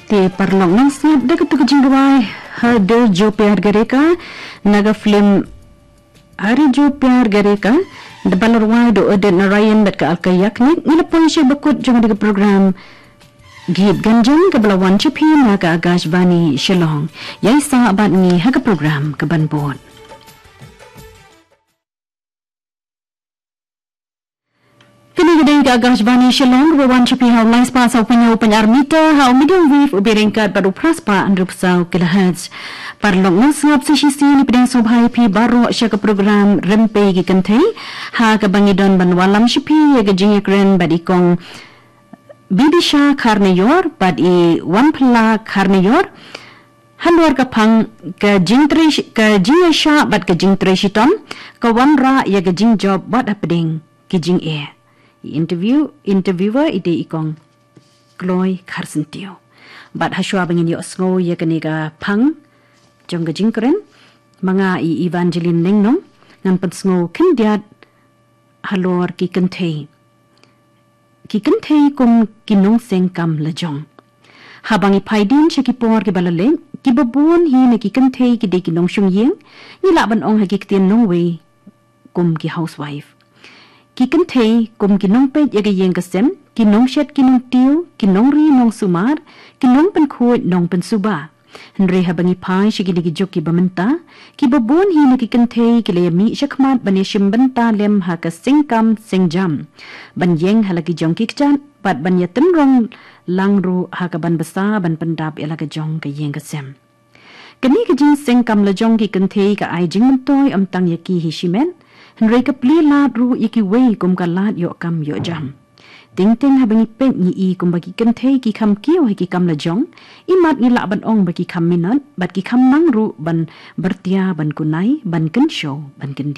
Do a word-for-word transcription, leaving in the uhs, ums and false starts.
Te paralok nang sngap da katu ka jingrwai Har Dil Jo Pyar Karega na ka film Har Dil Jo Pyar Karega, da ba la rwai da u Udit Narayan bad ka Alka Yagnik. Ngi la poi sha bakut jong kane ka program Geet Ganjam kaba la wan sha phi na ka Akashvani Shillong. Ïai sah bad ngi ha ka program kaban bud. Kane ka dei ka Akashvani Shillong kaba wan sha phi ha u lai spah saw phew hynñiew point ar meter, ha u medium wave uba ryngkat bad u phra spah hynriew phew saw kilohertz. Paralok nang sngap sa shisien, ngi pdiang sngewbha ïa phi baroh sha ka program Rympei ki Kynthei, ha kaba ngi don ban wallam sha phi ïa ka jingïakren bad i Kong Bidisha Kharnaior bad i Wanphylla Kharnaior halor ka phang ka jingtrei shi-, ka jingïaishah bad ka jingtrei shitom ka wanrah ïa ka jingjop wat hapdeng ki jingeh. I interview, interviewer i dei i Kong Kloi Kharsyntiew. Bad hashwa ba ngin ïohsngew ïa kane ka phang jong ka jingkren, ma nga i Evangeline Nongnong ngan pynsngew khyndiat halor ki kynthei. Ki kynthei kum ki nongseng kam lajong. Haba ngi phai dien sha ki por kiba la leit, kiba bun hi na ki kynthei ki dei ki nongshong ïing, ngi lah ban ong ha ki ktien nongwei kum ki housewife. Ki kynthei kum ki nongpeit ïa ka ïing ka sem, ki nongshet ki nongtiew, ki nongri nongsumar, ki nongpynkhuid nongpynsuba. Hynrei haba ngi phai sha kine ki juk kiba mynta, kiba bun hi na ki kynthei ki la ïamih shakhmat ban ïashim bynta lem ha ka sengkam sengjam, ban ïeng ha la ki jong ki kjat bad ban ïatynrong lang ruh ha kaban bsa ban pyndap ïa la ka jong ka ïing ka sem. Kane ka jingseng kam lajong ki kynthei ka ai jingmyntoi ym tang ïa ki hi shimet, hynrei ka plie lad ruh ïa kiwei kum ka lad ïoh kam ïoh jam. Teng teng haba ngi peit ngi i kumba ki kynthei ki kham kiew ha ki kam lajong, imat ngi lah ban ong ba ki kham minot bad ki kham nang ruh ban byrtia, ban kunai, ban kynshew, ban kyndit.